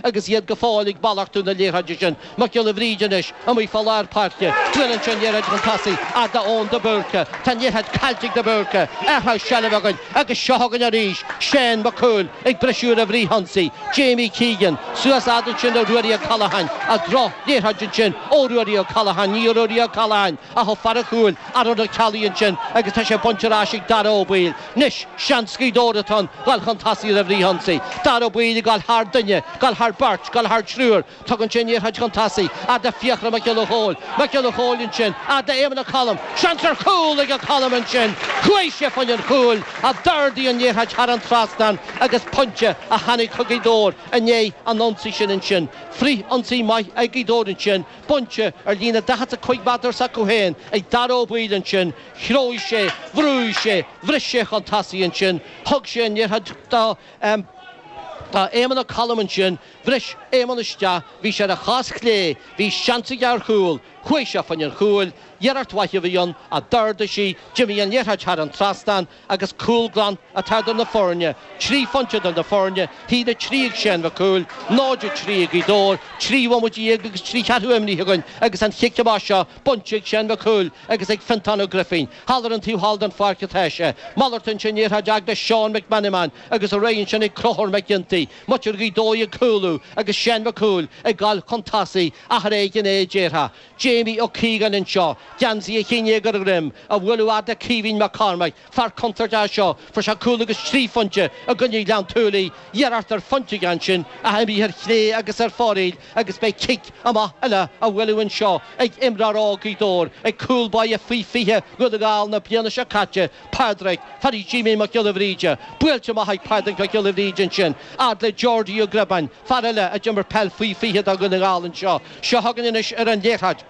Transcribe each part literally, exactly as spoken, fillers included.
agus iad go fóill ag malartú na liathróide sin. Mac Giolla Bhríde anois amuigh fá lár páirce. Buaileann sé an liathróid chun tosaigh fhad d'Eoin de Búrca. Tá an liathróid caillte ag de Búrca. Athrú seilbhe againn agus seo chugainn arís Shane Mac Cumhaill ag briseadh ar an bhfrithionsaí. Jamie Keegan suas fhad ansin le Ruairí O'Callaghan. A droch-liathróid ansin ó Ruairí O'Callaghan. Ní Ruairí O'Callaghan ach ó fear an chúil, Aaron Ó Ceallaigh ansin agus tá sé bainte ar ais ag Dara Ó Baoill. Anois seans Ghaoth Dobhair atá ann dul chun tosaigh ar an bhfrithionsaí. Dara Ó Baoill ag dul thar duine, dul thar beirt, dul thar triúr. Tugann sé an liathróid chun tosaigh fhad le Fiachra Mac Giolla Chóill. Mac Giolla Chóill ansin fhad le Éamonn Ó Colm. Seans ar chúl ag Ó Colm ansin. Chuaigh sé fá choinne an chúil ach d'ardaigh an liathróid thar an trasnán agus pointe a tháinig chuig Gaoth Dobhair i ndiaidh an ionsaí sin ansin. Frith-ionsaí maith ag Gaoth Dobhair ansin, bainte ar líne daichead is a cúig méadar s'acu féin ag Dara Ó Baoill ansin. Threabh sé, bhrúigh sé, bhris sé chun tosaigh ansin, thug sé an liathróid do Éamonn Ó Colm ansin, bhris Éamonn isteach, bhí sé ar a chos chlé, bhí seans aige ar chúl, chuaigh sé fá choinne an chúil, iarracht mhaith a bhí ann ach d'ardaigh sí, d'imigh an liathróid thar an trasnán agus cúl glan atá idir na foirne, trí phointe idir na foirne, haon a trí ag Shane Mac Cumhaill, náid a trí ag Gaoth Dobhair, trí bhomaite dhéag agus trí cheathrú imrithe againn agus an chic amach seo bainte ag Shane Mac Cumhaill agus ag Fiontán Ó Grifín. Thall ar an taobh thall den pháirc atá sé. Malartaíonn sé an liathróid fhad le Seán McMenamin agus ar aghaidh ansin ag Conchúr Mac Ginty. Muintir Ghaoth Dobhair ag cúlú agus Shane Mac Cumhaill ag dul chun tosaigh ach ar éigean é a déarfá. Jamie Ó Cíogáin anseo, geansaí a haon déag ar a dhroim, á bhualadh fhad le Caoimhín Mac Cormaic, fear contúirteach é seo, fuair sé cúl agus trí phointe i gcoinne Ghleann tSúilí, iarracht ar phointe aige ansin ach imithe ar chlé agus ar fóraoil agus beidh cic amach eile á bhualadh anseo ag imreoir óg Ghaoth Dobhair, ag cúl báire faoi fiche Dhún na nGall na bliana seo caite, Pádraig, fear Jimí Mac Giolla Bhríde. Buailte amach ag Pádraig Mac Giolla Bhríde ansin, fhad le Geordie Ó Griobáin, fear eile a d'imir peil faoi fiche do Dhún na nGall anseo. Seo chugainn anois ar an liathróid.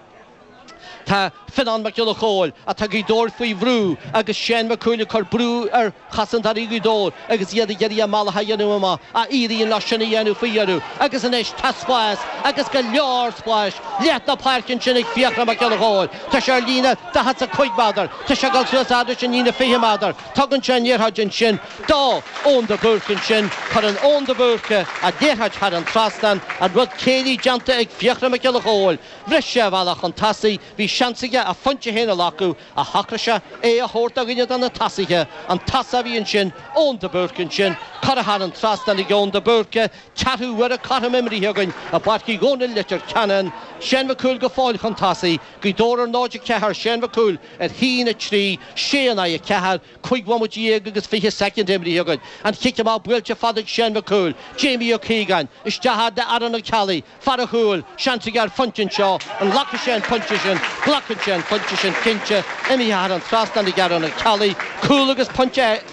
Tá Fionán Mac Giolla Chóill, atá Gaoth Dobhair faoi bhrú agus Shane Mac Cumhaill ag cur brú ar chosantóirí Ghaoth Dobhair agus iad ag iarraidh a mbealach a dhéanamh amach, ach éiríonn leo sin a dhéanamh faoi dheireadh agus anois tá spás agus go leor spáis leath na páirce ansin ag Fiachra Mac Giolla Chóill. Tá sé ar líne daichead is a cúig méadar, tá sé ag dul suas fhad leis an líne fiche méadar, tugann sé an liathróid ansin do Eoin de Búrca ansin, cuireann Eoin de Búrca an liathróid thar an trasnán, an rud céillí déanta ag Fiachra Mac Giolla Chóill. Bhris sé a bhealach chun tosaigh, bhí seans aige a phointe féin a ghlacadh, ach shocraigh sé é a thabhairt do dhuine de na tosaithe. An tosaí a bhí ansin, Eoin de Búrca ansin, curtha thar an trasnán ag Eoin de Búrca, ceathrú uaire cothrom imrithe againn i bPáirc Uí Dhónaill, Leitir Ceanainn. Shane Mac Cumhaill go fóill chun tosaigh, Gaoth Dobhair ar náid a ceathair, Shane Mac Cumhaill ar haon a trí, sé in aghaidh a ceathair, cúig bhomaite dhéag agus fiche soicind imrithe againn. An chic amach buailte fada ag Shane Mac Cumhaill, Jamie Ó Cíogáin, isteach fhad le Aaron Ó Ceallaigh, Fear an chúil, seans aige ar phointe anseo, an nglacfaidh sé an pointe sin? Glacann sé an pointe sin, cinnte. Imithe thar an trasnán ag Aaron Ó Ceallaigh. Cúl agus pointe,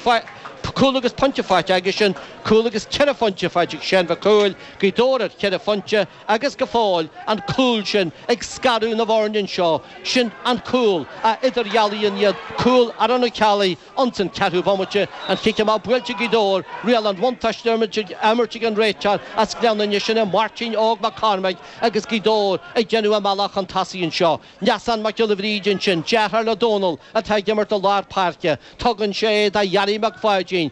cúl agus pointe faighte aigesean, cúl agus ceithre phointe faighte ag Shane Mhic Cumhaill, Gaoth Dobhair ar cheithre phointe agus go fóill an cúl sin ag scaradh na bhfoirne anseo. Sin an cúl a idirdhealaíonn iad, cúl Aaron Ó Ceallaigh. Ins an ceathrú bomaite, an chic amach buailte ag Gaoth Dobhair, riail an bhuntáiste á imirt ag an réiteoir as Gleann Fhinne, sin é Máirtín Óg Mac Cormaic agus Gaoth Dobhair ag déanamh a mbealach chun tosaigh anseo. Neasán Mac Giolla Bhríde ansin, deartháir le Dónal atá ag imirt i lár páirce. Tugann sé é do Ghearaí Mac Pháidín.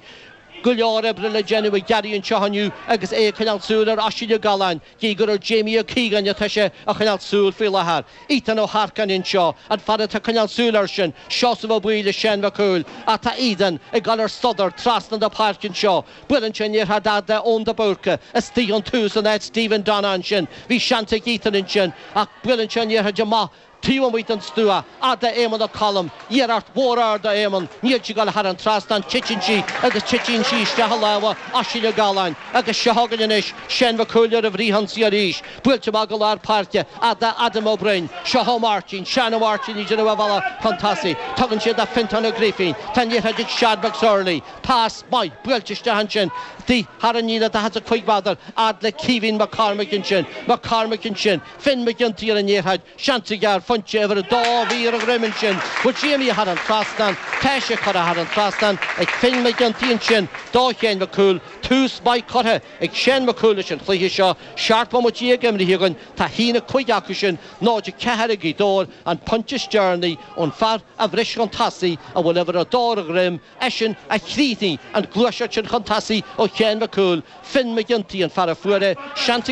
Go leor oibre le déanamh ag Gearaí anseo inniu agus é ag coinneáil súil ar Oisín Ó Galláin, gidh gur ar Jamie Ó Cíogáin atá sé a choinneáil súil faoi láthair. Ethan Ó hEarcáin anseo, an fear atá ag coinneáil súil air sin, Seosamh Ó Baoill is Shane Mac Cumhaill, ach tá Ethan ag dul ar sodar trasna na páirce anseo. Buaileann sé an liathróid fhad le Eoin de Búrca istigh ón tús in áit Stephen Donagh ansin. Bhí seans ag Ethan ansin ach buaileann sé an liathróid amach taobh amuigh den stua, fhad le Éamonn Ó Colm, iarracht mhór ard ó Éamonn, níl sí ag dul thar an trasnán, titeann sí agus titeann sí isteach i lámha Oisín Ó Galláin agus seo chugainn anois Shane Mac Cumhaill ar an bhfrithionsaí arís, buailte amach go lár páirce, fhad le Adam Ó Broin, seo Ó Máirtín, Seán Ó Máirtín ag déanamh a bhealach chun tosaigh, tugann sé do Fiontán Ó Grifín, tá an liathróid ag Seán McSorley, pas maith buailte isteach ansin, thar an líne daichead is a cúig méadar, fhad le Caoimhín Mac Cormaic ansin, Mac Cormaic ansin, Finn McGinty ar an liathróid, seans aige ar phointe uimhir a dó a bhí ar a dhroim ansin, bhfuil sí imithe thar an trasnán, tá sé curtha thar an trasnán ag Finn McGinty ansin do Shane Mac Cumhaill, tús maith curtha ag Shane Mac Cumhaill leis an chluiche seo, seacht mbomaite déag imrithe againn, tá a haon a cúig acu sin, náid a ceathair ag Gaoth Dobhair, an pointe is deireanaí ón fear a bhris chun tosaigh, a bhfuil uimhir a dó ar a dhroim, eisean a chríochnaigh an ghluaiseacht sin chun tosaigh ó Shane Mac Cumhaill, Finn McGinty an fear a fuair é, seans ag.